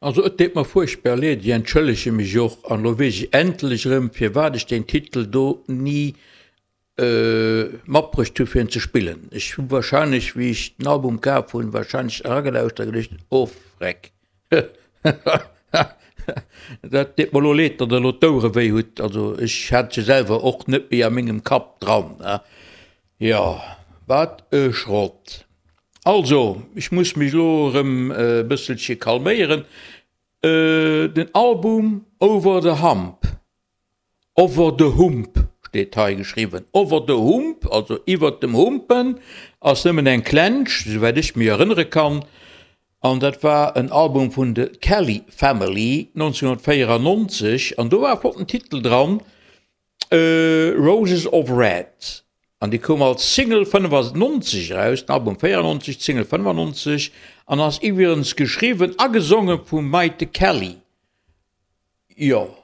Also et deet mer fuerchtbar leed, ech entschëllege mech och, an elo weess ech endlech erëm firwat ech deen Titel do ni matbruecht hu fir en ze spillen. Ech hu wahrscheinlech wéi ech den Album kaf hunn, wahrscheinlech eragelauschtert a geduecht, oh freck, dat deet mer elo leed, datt der elo d'Ouere wéi hutt. Also ech hat se selwer och net méi a mengem Kapp dran. Jo, wat e Schrott. Also, ech muss mech elo erëm e bësselche kalméieren. Den Album Over the Hump, Over the Hump steet hei geschriwwen, Over the Hump, also iwwert dem Humpen, ass nëmmen eng Klensch, souwäit ech mech erënnere kann. An dat war en Album vun de Kelly Family 1994 an do war e flotten Titel dran, Roses of Red. An déi koum als Single 95 eraus, den Album 94, d'Single 95, an ass iwwregens geschriwwen a gesonge vum Maite Kelly. Jo.